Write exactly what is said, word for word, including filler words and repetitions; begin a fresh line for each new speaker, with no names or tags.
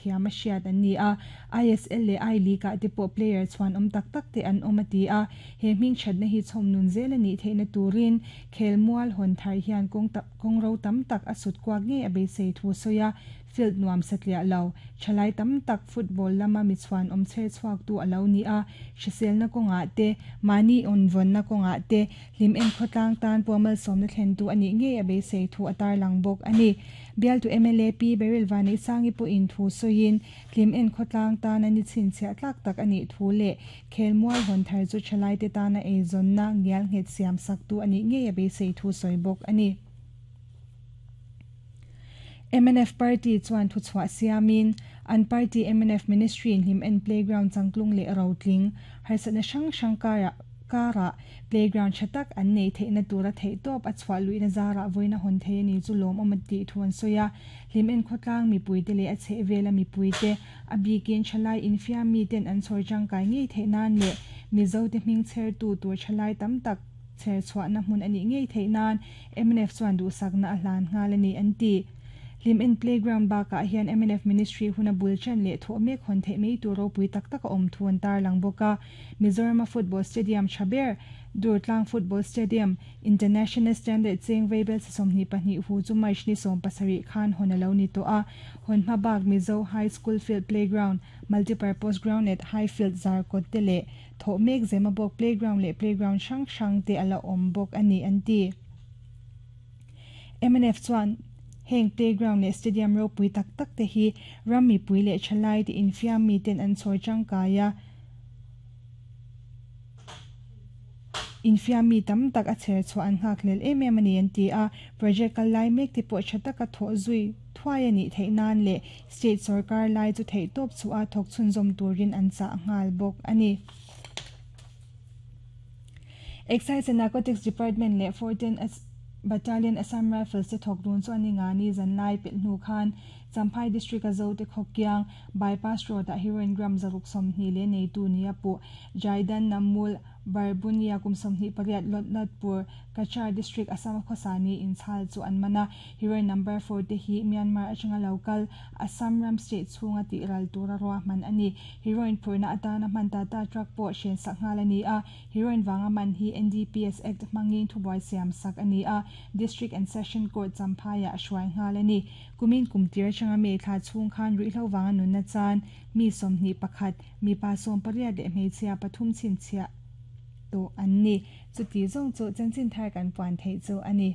thiam a hriat an ni a, I S L leh I League ah te pawh player chuan awm tak tak te an awm a ti a, he hming thatna hi chhawm nun zel ani theihna turin khelmual hawn thar hian kawng kawng ro tam tak a sut kuak nge a beisei thu soya field nuam satliah lo thalai tam tak football lama mi chuan awm che chuak tu alo ni a hriselna kawnga te mani on von na kawnga te hlim en khotlang tan puamal somna thlen tu ani nge a beisei thu atar lang bawk ani bial tu M L A P Beryl Vani sangi pu in thu soin hlim en khotlang tan ani chin chia tlak tak ani thu le khelmual hon thar chu thalai te tana e zonna ngial nget siam sak tu ani nge a beisei thu soi bawk ani M N F Party chuan thu chhuah siamin an party M N F Ministry in hlim en playground changtlung le rotling harsatna hrang hrang kara kara playground thatak an nei theihna tura thei tawp a chhuah luihna zara voina hawn thei ani chu lawm awm ti thuan soya hlim en khawtlang mipui te leh a chheh vela mipui te a bikin thalai infiam mi ten an chhawr tangkai ngei theih nan leh mizo te hming chher tu tur thalai tam tak chher chhuahna hmun ani ngei theih nan M N F chuan duhsakna a hlan nghal ani an ti Lim en playground baka hian M N F Ministry huna bulchan le tho mek hon the mei tu ropui tak tak a awm thuan tar lang boka Mizoram Football Stadium Chaber Durtlang Football Stadium International Standard Cheng Weibel somni pahnih hu chu mai ni som pasarih khan honalo ni to a hon hmabak Mizo High School Field Playground Multipurpose Ground at Highfield Zarkot te le tho mek Zemabawk Playground le Playground hrang hrang te ala awm bawk ani an ti M N F chuan heng playground le stadium ro pui tak tak te hi rammi pui le thalai te infiam mi ten an chhawr tangkaia infiam mi tam tak a chher chu an nghak lel em em ani an ti a project kal lai mek te pawh tha taka thaw zui thuai ani theih nan le state sarkar lai chu thei tawp chu a thawk chhun zawm turin an chah nghal bawk ani. Excise and Narcotics Department le fourteen Battalion Assam Rifles te thawk dun chu ani nga ni zanlai pel hnu khan Champhai District a zo te khawkiang bypass road a heroin gram zaruk sawmhnih le nei tu ni a pu Jaidan Namul Barbunia kum sawmhnih pariat Lotnatpur Cachar District Assam khawsani inchhal chu an mana heroin number four te hi Myanmar atanga local Assam ram state chhunga ti ral tura ruahman ani heroin phurna atana hman ta ta truck pawh hren sak nghal ani a heroin wanga man hi N D P S Act hmangin thubuai siam sak ani a District and Session Court Champhai a hruai nghal ani kumin kumtir atanga me thla chhung khan ruihhlo wanga nunna chan mi sawmhnih pakhat mi pa sawm pariat leh hmeichhia pathum chhinchhiah to an ni chuti zawng chu chanchin thar kan puan thei chu ani.